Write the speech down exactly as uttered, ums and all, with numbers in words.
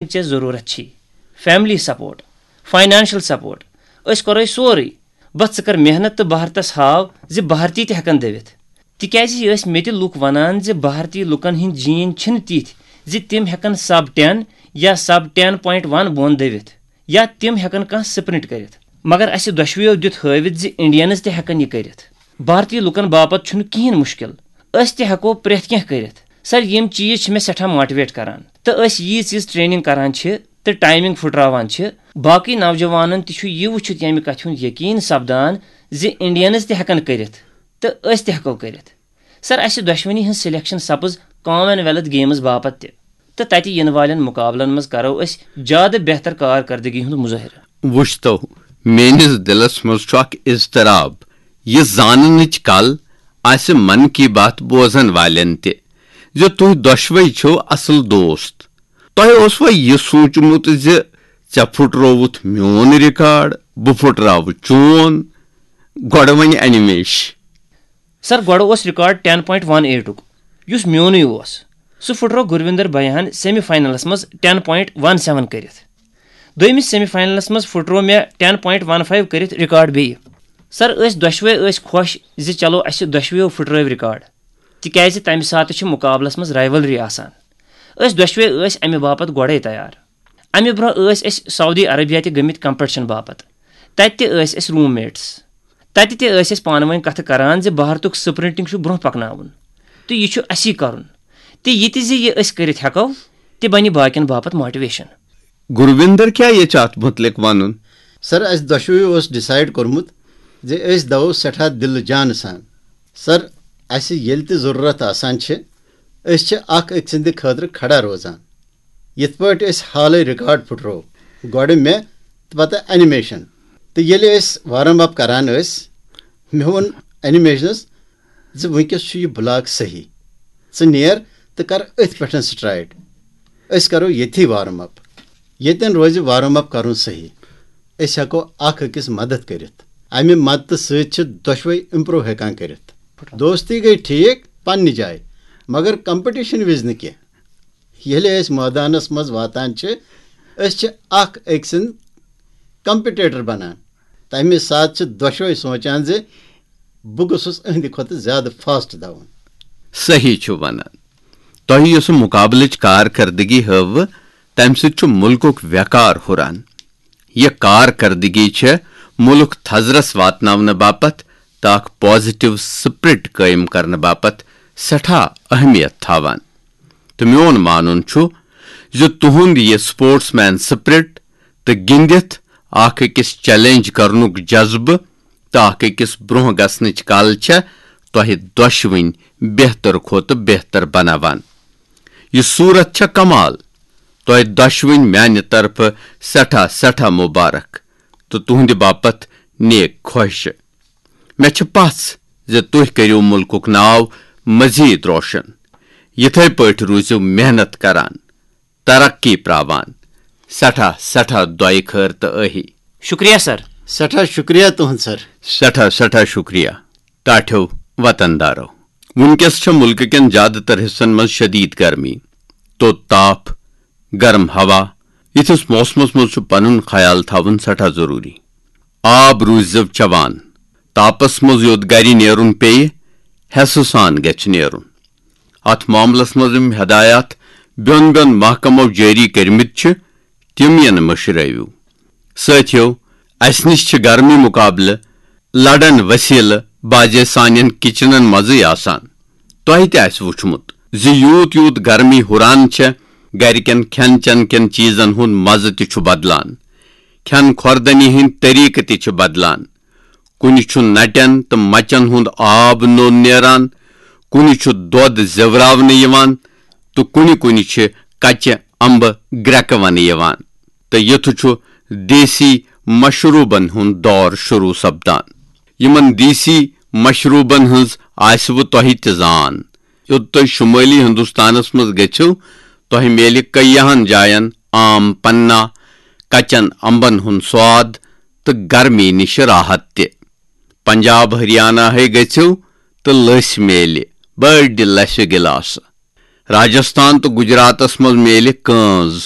ژےٚ ضروٗرت چھی۔ فیملی سپورٹ، فاینانشل سپورٹ، أسۍ کرو سورُے۔ بس ژٕ کر محنت تہٕ بھارتس ہاو زِ بھارتی تہِ ہٮ۪کن دٔوِتھ۔ تِکیازِ یہِ ٲسۍ مےٚ تہِ لُکھ ونان زِ بھارتی لُکن ہٕنٛدۍ جین چھِنہٕ تِتھۍ زِ تِم ہٮ۪کن سب ٹین یا سب ٹین پوینٹ ون بۄن دٔوِتھ، یا تِم ہٮ۪کن کانٛہہ سپرنٹ کٔرِتھ۔ مگر اسہِ دۄشوٕیو دیُت ہٲوِتھ زِ انڈینز تہِ ہٮ۪کن یہِ کٔرِتھ۔ بھارتی لُکن باپتھ چھُنہٕ کِہینۍ مُشکل۔ أسۍ تہِ ہٮ۪کو پرٛٮ۪تھ کینٛہہ کٔرِتھ۔ سر، یِم چیٖز چھِ مےٚ سٮ۪ٹھاہ موٹیویٹ کران۔ تہٕ أسۍ ییٖژ ییٖژ ٹریننگ کران چھِ تہٕ ٹائمنگ پھُٹراوان چھِ، باقٕے نوجوانن تہِ چھُ یہِ وٕچھِتھ ییٚمہِ کتھِ ہُنٛد یقین سپدان زِ انڈینز تہِ ہٮ۪کن کٔرِتھ تہٕ أسۍ تہِ ہٮ۪کو کٔرِتھ۔ سر، اسہِ دۄشوٕنی ہٕنٛز سلیکشن سپٕز کامن ویلتھ گیمز باپتھ تہِ، تہٕ تتہِ یِنہٕ والٮ۪ن مقابلن منٛز کرو أسۍ زیادٕ بہتر کارکردگی ہُنٛد مظٲہرٕ۔ وٕچھتو، میٲنِس دِلس منٛز چھُ اکھ اضطراب، یہِ زاننٕچ کل آسہِ من کی بات بوزن والٮ۪ن تہِ زِ تُہۍ دۄشوے چھِو اصل دوست۔ تۄہہِ اوسوا یہِ سوٗنٛچمُت زِ ژےٚ پھُٹرووُتھ میون ریکارڈ، بہٕ پھُٹراوٕ چون؟ گۄڈٕ وۄنۍ انمیش۔ سر، گۄڈٕ اوس ریکارڈ ٹین پوینٹ ون ایٹُک، یُس میونُے اوس۔ سُہ پھُٹرو گرویندر بھیاہن سیمی فاینلس منٛز ٹین پوینٹ ون سیون کٔرِتھ۔ دوٚیمِس سیمی فاینلس منٛز پھُٹرو مےٚ ٹین پوینٹ ون فایو کٔرِتھ ریکارڈ بیٚیہِ۔ سر، أسۍ دۄشوے ٲسۍ خۄش زِ چلو، اسہِ دۄشوٕیو پھُٹرٲو ریکارڈ، تِکیازِ تمہِ ساتہٕ چھِ مقابلس منٛز رائیولری آسان۔ أسۍ دۄشوے ٲسۍ امہِ باپتھ گۄڈے تیار۔ امہِ برونٛہہ ٲسۍ أسۍ سعودی عربیہ تہِ گٔمٕتۍ کمپٹیشن باپتھ۔ تتہِ تہِ ٲسۍ أسۍ روم میٹس۔ تتہِ تہِ ٲسۍ أسۍ پانہٕ ؤنۍ کتھٕ کران زِ بھارتُک سپرنٹنگ چھُ برونٛہہ پکناوُن تہٕ یہِ چھُ اسی کرُن۔ تہٕ یہِ تہِ زِ یہِ أسۍ کٔرِتھ ہٮ۪کو، تہِ بنہِ باقین باپتھ موٹیویشن۔ گرویندر، کیٛاہ یہِ چھُ اتھ متعلق ونُن؟ سر، اسہِ دۄشوٕے اوس ڈیسائیڈ کوٚرمُت زِ أسۍ دوو سٮ۪ٹھاہ دِلہٕ جانہٕ سان۔ سر، اسہِ ییٚلہِ تہِ ضروٗرت آسان چھِ، أسۍ چھِ اکھ أکۍ سٕنٛدِ خٲطرٕ کھڑا روزان۔ یِتھ پٲٹھۍ أسۍ حالٕے ریکارڈ پھُٹروو، گۄڈٕ مےٚ تہٕ پتہٕ انیمیشن۔ تہٕ ییٚلہِ أسۍ وارم اپ کران ٲسۍ، مےٚ ووٚن انیمیشنس زِ وٕنکیٚس چھُ یہِ بلاک صحیح، ژٕ نیر تہٕ کر أتھۍ پٮ۪ٹھ سٹرائٹ۔ أسۍ کرو ییٚتھی وارم اپ، ییٚتٮ۪ن روزِ وارم اپ کرُن صحیح۔ أسۍ ہٮ۪کو اکھ أکِس مدد کٔرِتھ۔ امہِ مدتہٕ سۭتۍ چھِ دۄشوے امپروو ہٮ۪کان کٔرِتھ۔ دوستی گٔے ٹھیک پننہِ جایہِ، مگر کمپٹیشن وِزِ نہٕ کینٛہہ۔ ییٚلہِ أسۍ مٲدانس منٛز واتان چھِ، أسۍ چھِ اکھ أکۍ سٕنٛدۍ کمپٹیٹر بنان۔ تمہِ ساتہٕ چھِ دۄشوے سونچان زِ بہٕ گوٚژھُس أہنٛدِ کھۄتہٕ زیادٕ فاسٹ دوُن۔ صحیح چھُ ونان۔ تۄہہِ یۄسہٕ مقابلٕچ کارکردگی ہٲوٕ، تمہِ سۭتۍ چھُ مُلکُک وقار ہُران۔ یہِ کارکردگی چھےٚ مُلک تھزرس واتناونہٕ باپتھ تہٕ اکھ پازیٹو سپرٹ قٲیِم کرنہٕ باپتھ سٮ۪ٹھاہ اہمیت تھاوان۔ تہٕ میون مانُن چھُ زِ تُہُنٛد یہِ سپورٹس مین سپرٹ تہٕ گِنٛدِتھ اکھ أکِس چیلنج کرنُک جذبہٕ تہٕ اکھ أکِس برونٛہہ گژھنٕچ کل چھےٚ تۄہہِ دۄشوٕنۍ بہتر کھۄتہٕ بہتر بناوان۔ یہِ صورت چھےٚ کمال۔ تۄہہِ دۄشوٕنۍ میانہِ طرفہٕ سٮ۪ٹھاہ سٮ۪ٹھاہ مبارک تہٕ تُہنٛدِ باپتھ نیک خواہشہٕ۔ مےٚ چھِ پژھ زِ تُہۍ کٔرِو مُلکُک ناو مزید روشن۔ یِتھے پٲٹھۍ روٗزِو محنت کران، ترقی پراوان۔ سٮ۪ٹھاہ سٮ۪ٹھاہ دۄیہِ خٲر تہٕ ٲہی۔ شُکریہ سر۔ سٮ۪ٹھاہ شُکریہ تُہُنٛد سر۔ سٮ۪ٹھاہ سٮ۪ٹھاہ شُکریہ ٹاٹھیو وطن دارو۔ وُنکیٚس چھےٚ مُلکہٕ کٮ۪ن زیادٕ تر حصن منٛز شدید گرمی، توٚت تاپھ، گرم ہوا۔ یِتھِس موسمس منٛز چھُ پنُن خیال تھاوُن سٮ۪ٹھاہ ضروٗری۔ آب روٗززیو چٮ۪وان۔ تاپس منٛز یوٚت گرِ نیرُن پیٚیہِ، حٮ۪سہٕ سان گژھِ نیرُن۔ اتھ معاملس منٛز یِم ہدایات بیوٚن بیوٚن محکمو جٲری کٔرمٕتۍ چھِ، تِم یِن مٔشرٲوِو۔ سٲتھیو، اسہِ نِش چھِ گرمی مقابلہٕ لڑن وسیلہٕ بازے سانٮ۪ن کچنن منٛزٕے آسان۔ تۄہہِ تہِ آسہِ وُچھمُت زِ یوٗت یوٗت گرمی ہُران چھےٚ، گرِکٮ۪ن کھٮ۪ن چٮ۪ن کٮ۪ن چیٖزن ہُنٛد مزٕ تہِ چھُ بدلان، کھٮ۪ن کھۄردنی ہٕنٛدۍ طریقہٕ تہِ چھِ بدلان۔ کُنہِ چھُ نٹٮ۪ن تہٕ مچن ہُنٛد آب نوٚن نیران، کُنہِ چھُ دۄد زیوراونہٕ یِوان تہٕ کُنہِ کُنہِ چھِ کچہِ امبہٕ گرٛٮ۪کہٕ ونہٕ یِوان۔ تہٕ یُتھ چھُ دیسی مشروبن ہُنٛد دور شروع سپدان۔ یِمن دیسی مشروبن ہٕنٛز آسِوٕ تۄہہِ تہِ زان۔ یوٚت تُہۍ شُمٲلی ہندوستانس منٛز گٔژھِو، تۄہہِ میلہِ کیاہن جاین آم پننا، کچن امبن ہُنٛد سواد تہٕ گرمی نِش راحت تہِ۔ پنجاب ہریانہ ہے گٔژھِو تہٕ لٔسۍ میلہِ، بٔڑۍ لسہِ گلاسہٕ۔ راجستھان تہٕ گجراتس منٛز میلہِ کٲنز،